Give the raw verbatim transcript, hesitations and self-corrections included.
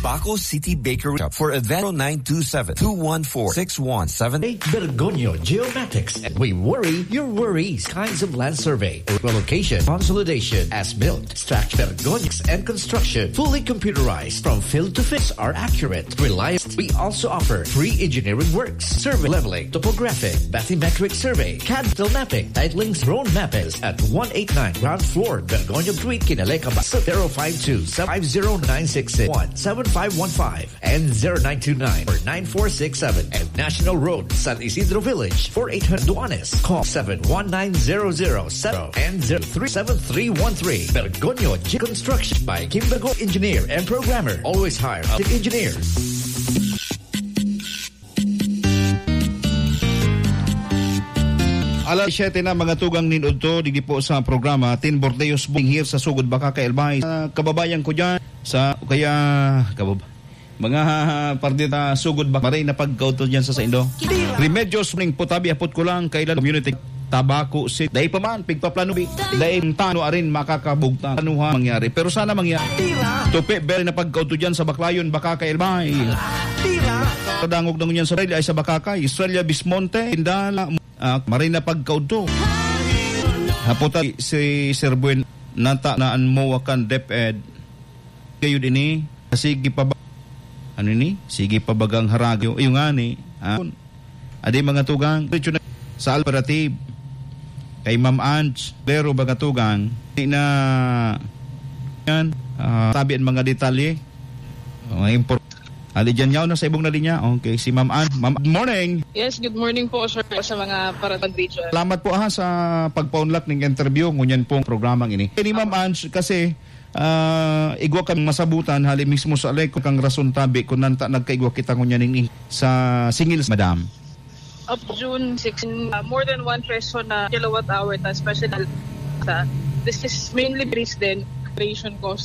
Baco City Bakery for event nine two seven, two one four, six one seven eight. Bergonyo Geomatics, and we worry your worries. Kinds of land survey, location, consolidation, as-built, structure, Bergonyo, and construction, fully computerized. From field to fence are accurate, reliable. We also offer free engineering works, survey, leveling, topographic, bathymetric survey, cad mapping, titlings, drone mapping at one eight nine ground floor, Bergonyo Street, Kinaleca, Baco, zero five two, seven five zero nine six six one, seven five one five and zero nine two nine or nine four six seven, and National Road, San Isidro Village, four eight hundred Duanes. Call seven one nine zero zero seven and zero three seven three one three. Bergonyo G Construction by Kimbergo Engineer and Programmer. Always hire a engineer. Alas siyete na, mga tugang, nin udto, digdi po sa programa, Tin Bordeos Booking here sa Sugod Bacacay, Albay. Ah, kababayan ko dyan, sa, kaya, kabab-, mga parte ta Sugod Bacacay, maray na pagkaudto dyan sa saindo. Remedios ning putabi, apot ko lang, kailan community, Tabaco City. Dai pa man, pigpaplano bi. Dai tano arin makakabugtan. Ano ha mangyari? Pero sana mangyari. Tupi, bere na pagkaudto dyan sa Baclayon, Bacacay, Albay. Kadangog na ngunyan sa Estrella ay sa Bacacay, Estrella Bismonte, Indala, ah, maray na pagkaudto. Haputan si Sir Buen, nata na an mowa kan DepEd. Kayo din eh, sige pa ba, ano ni? Sige pa bagang haragyo. Iyo nga ni, ah, adi mga tugang, diretso na sa operative. Kay Ma'am Ange, pero mga tugang, di na yan, ah, tabi ang mga detalye. Mga impor-, Ali dyan yaw na sa ibong na linya. Okay, si Ma'am Anne. Ma'am, good morning. Yes, good morning po, sir, sa mga parapag-video. Salamat po, ha, sa pagpaunlak ning interview ngunyan pong programang ini. Ini, Ma'am Ange, kasi, ah, igwa kami masabutan, hali mismo sa alay, kung kang rason tabi, kung nanta nagkaigwa kita ngunyan ning sa singil, Madam. Of June sixteen, uh, more than one peso na kilowatt hour ta, special ta. This is mainly based din operation cost.